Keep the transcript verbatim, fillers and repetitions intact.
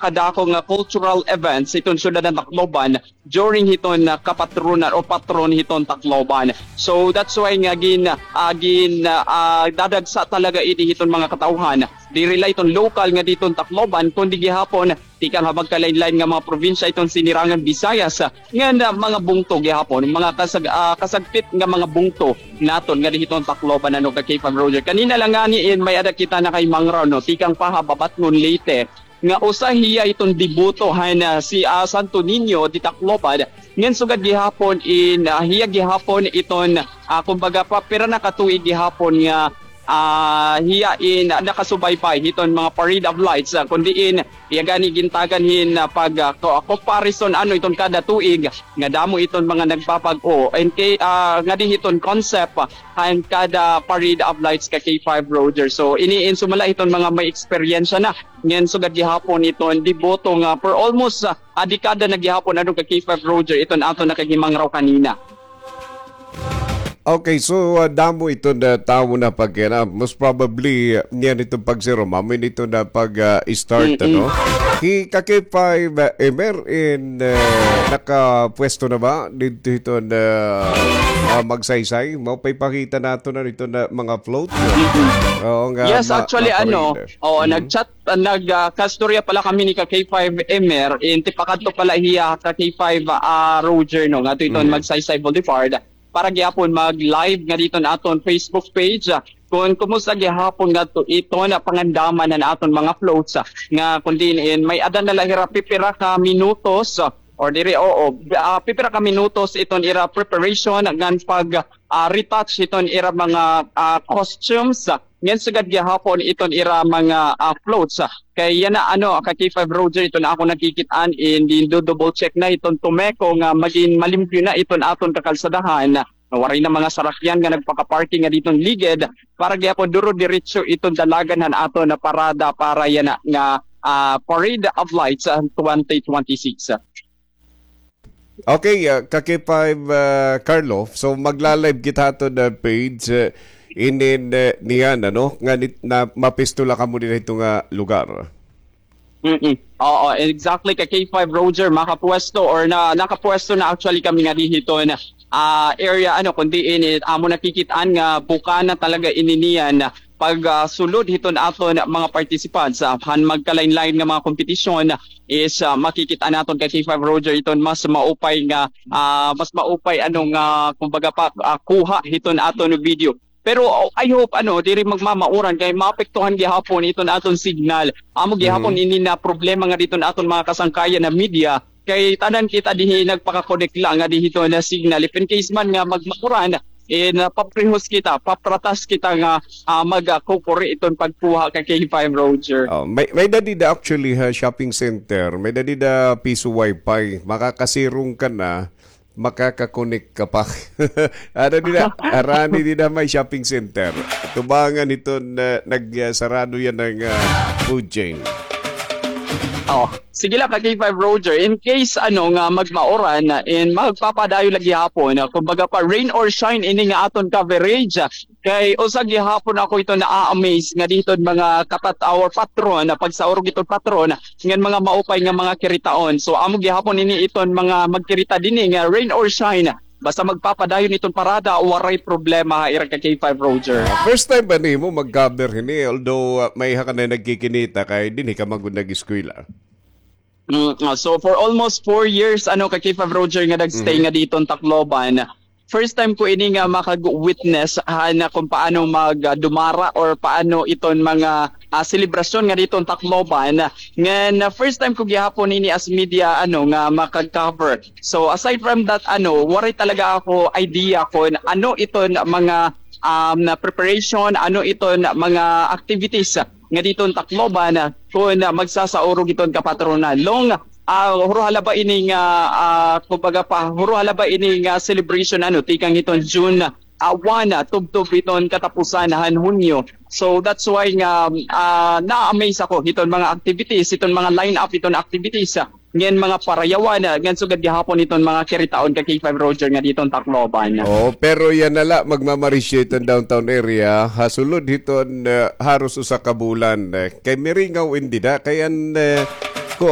kadako nga cultural events hiton syudad han Tacloban during hiton, ah, kapatronan o patron hiton Tacloban. So that's why nga gin-, ah, gin-, ah, dadagsa talaga ini hiton mga katawhan. Diri la iton lokal nga diton Tacloban, kundi gihapon tikang ha magkalain-lain nga mga probinsya iton sinirangan Visayas, ah, ngan, ah, mga bungto gihapon, mga kasag-, ah, kasagpit nga mga bungto naton nga dihiton Tacloban, ano, ka K five Roger. Kanina la ngani in may-ada kita nakahimangraw, no, tikang pa ha Babatngon, Leyte, nga usa hiya iton deboto han, ah, si, ah, Santo Niño de Tacloban. Ngan sugad gihapon in, ah, hiya gihapon iton, ah, kumbaga pa, pira na ka tuig gihapon nga, ah, hiya in, ah, nakasubaybay hiton mga Parade of Lights, ah, kun diin hiya gani gintagan hin, ah, pag, ah, ko-, comparison, ano, iton kada tuig nga damo iton mga nagpapag-o. And kay, ah, ngadi hiton concept, ah, han kada Parade of Lights ka K five Roger. So, ini in sumala hiton mga may eksperyensya na. Ngan sugad gihapon iton deboto nga for almost, ah, a dekada na gihapon, ano, ka K five Roger, iton aton nakahimangraw kanina. Okay, so, ah, damo iton, ah, tawo na pagkana. Most probably, ah, niyan iton pagsirom. Amo ini iton na pag, ah, start, ano? Hi ka K five, ah, Emer in, ah, nakapwesto na ba didto iton, ah, ah, Magsaysay? Mao pa ipakita naton na iton na mga float. Oo nga, yes, ma-, actually, ano, maparade. Oo, nag-chat, ah, nag, ah, kastorya pala kami ni ka K five Emer, in tipakadto pala hiya ka K five, ah, Roger, no, ngadto iton Magsaysay Boulevard para gihapon mag-live nga diton aton Facebook page, ah, kun kumusta gihapon ngadto iton, ah, pangandaman han aton mga floats, ah, nga kun diin in may-ada na la hira pipira ka minutos, ah, or diri, oo, ah, pipira ka minutos iton ira preparation ngan pag, ah, retouch iton ira mga, ah, costumes, ah, ngan sugad gihapon iton ira mga, ah, floats, ah. Kay yana, ano, ka K five Roger, iton ako nakikit-an, in din do-double check na iton Tumeco nga magin malimpyo na iton aton kakalsadahan. Nga waray na mga sarakyan nga nagpakaparking nga diton ligid para gihapon duro-diretso iton dalagan han aton na parada para yana nga, ah, Parade of Lights, ah, twenty twenty-six. Okay, ah, ka K five, ah, Carlo. So, magla-live kita ato na page, ah, inin, ah, niyan, ano, nga nit-, na mapistola kamo din ito nga lugar. Mm-mm. Oo, exactly, ka K five Roger, makapwesto or na, nakapwesto na actually kami nga dihiton, ah, area, ano, kundi ini, amo nakikit-an nga bukana talaga ini niyan pag, ah, sulod hiton aton mga participants, ah, han magkalain-lain nga mga kompetisyon is, ah, makikit-an naton ka K five Roger iton mas maupay nga, ah, mas maupay ano nga, kumbaga pa, ah, kuha hiton aton video. Pero, oh, I hope, ano, diri magmamauran kay maapektuhan gihapon iton aton signal. Amo gihapon ini na problema nga diton aton mga kasangkayan na media. Kay tanan kita dihi nagpakakonek la nga dihiton na signal. If in case man nga magmauran, eh, napaprihos kita, papratas kita nga, ah, magkukuri iton pagkuha ka K five Roger. Oh, may, may-ada dida actually ha shopping center, may-ada dida piso wifi, makakasirong ka na, makakakonek ka pa. Ada dida, harani dida may shopping center. Tubangan hiton, ah, nagsarado yana nga, ah, food chain. Oh, sige la ka K five Roger. In case, ano, nga magmauran, in magpapadayon la gihapon, ah, kumbaga pa, rain or shine ini nga aton coverage. Kay usa gihapon ako iton naa-amaze nga dihiton mga katat-, our patron, ah, pagsaurog iton patron, ngan mga maupay nga mga kiritaon. So, amo gihapon ini iton mga magkirita dinhi nga rain or shine. Basta magpapadayon iton parada, waray problema ha ira ka K five Roger. Ah, first time ba nimo mag-cover hini? Although, ah, may-ada ka na nagkikinita kay dinhi ka man gud nag-eskwela. Mm, ah, so for almost four years, ano, ka K five Roger nga nag-stay nga diton Tacloban. First time ko ini nga makag-witness, ha, na kung paano mag, ah, dumara or paano iton mga, ah, selebrasyon nga diton Tacloban. Ngan, ah, first time ko gihapon ini as media, ano, nga makag-cover. So, aside from that, ano, waray talaga ako idea kung ano iton mga, um, na preparation, ano iton mga activities nga diton Tacloban, ah, kun, ah, magsasaurog iton kapatronan. Long, ah, huro hala ba ini nga, ah, kumbaga pa, huro hala ba ini nga celebration, ano, tikang hiton June, ah, one, ah, tubtob hiton katapusan han Hunyo. So, that's why nga, ah, na-amaze ako hiton mga activities, hiton mga line-up hiton activities, ah, ngan mga parayawan, ah, ngan sugad gihapon hiton mga kiritaon ka K five Roger nga diton Tacloban. Oh, pero yana la, magmamarisyo iton downtown area, ha sulod hiton, ah, haros usa ka bulan, eh. Kay miringaw in dida, kay an, eh,